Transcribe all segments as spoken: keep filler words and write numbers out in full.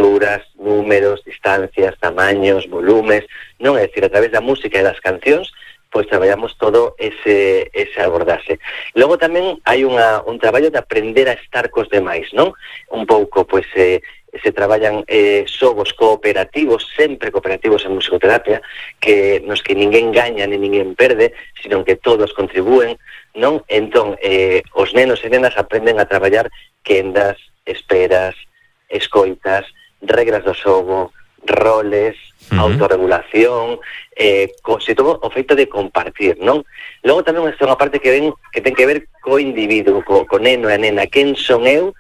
alturas, números, distancias, tamaños, volumes, non? É dicir, a través da música e das cancións, pois traballamos todo ese, ese abordaxe. Logo tamén hai unha, un traballo de aprender a estar cos demais, non? Un pouco, pois, eh, se traballan eh, xogos cooperativos, sempre cooperativos en musicoterapia, que nos que ninguén gaña ni ninguén perde, sino que todos contribúen, non? Entón, eh, os nenos e nenas aprenden a traballar quendas, esperas, escoitas, regras do xogo, roles, uh-huh. autorregulación, eh, co, se todo o feito de compartir, non? Logo tamén é unha parte que ven que ten que ver co individuo, co, co neno e a nena, quen son eu,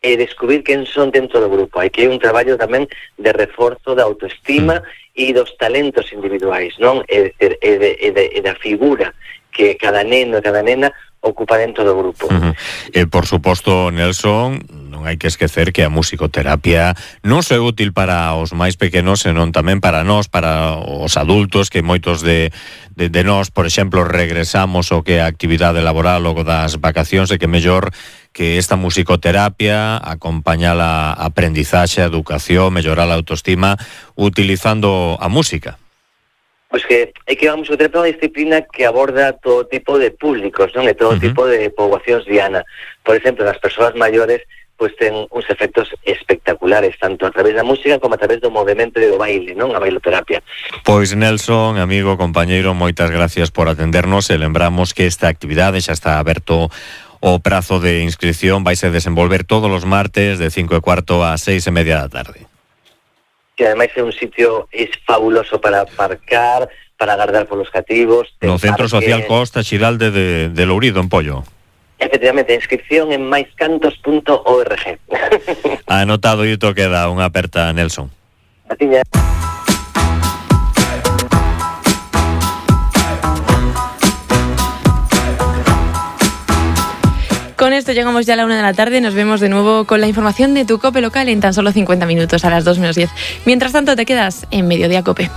e descubrir quen son dentro do grupo. Hai que hai un traballo tamén de reforzo da autoestima uh-huh. e dos talentos individuais, non? É dicir, e, de, e, de, e da figura que cada neno e cada nena ocupa dentro do grupo. Uh-huh. E, por suposto, Nelson, non hai que esquecer que a musicoterapia non só é útil para os máis pequenos, senón tamén para nós, para os adultos, que moitos de, de, de nós, por exemplo, regresamos o que a actividade laboral logo das vacacións, e que mellor que esta musicoterapia acompaña a aprendizaxe, a educación, mellorar a autoestima utilizando a música. Pois que é que a musicoterapia é unha disciplina que aborda todo tipo de públicos, non? E todo uh-huh. tipo de poboacións diana. Por exemplo, as persoas maiores pois ten uns efectos espectaculares, tanto a través da música como a través do movimento e do baile, non? A bailoterapia. Pois Nelson, amigo, compañeiro, moitas gracias por atendernos, e lembramos que esta actividade xa está aberto o prazo de inscripción, vaise desenvolver todos os martes de cinco e cuarto a seis e media da tarde. Que ademais é un sitio es fabuloso para aparcar, para agardar polos cativos. No Centro parque... Social Costa Xiralde de, de Lourido, en Pollo. Efectivamente, inscripción en maiscantos punto org. Anotado, e isto queda unha aperta, Nelson. A tiña. Con esto llegamos ya a la una de la tarde. Nos vemos de nuevo con la información de tu COPE local en tan solo cincuenta minutos, a las dos menos diez. Mientras tanto, te quedas en Mediodía COPE.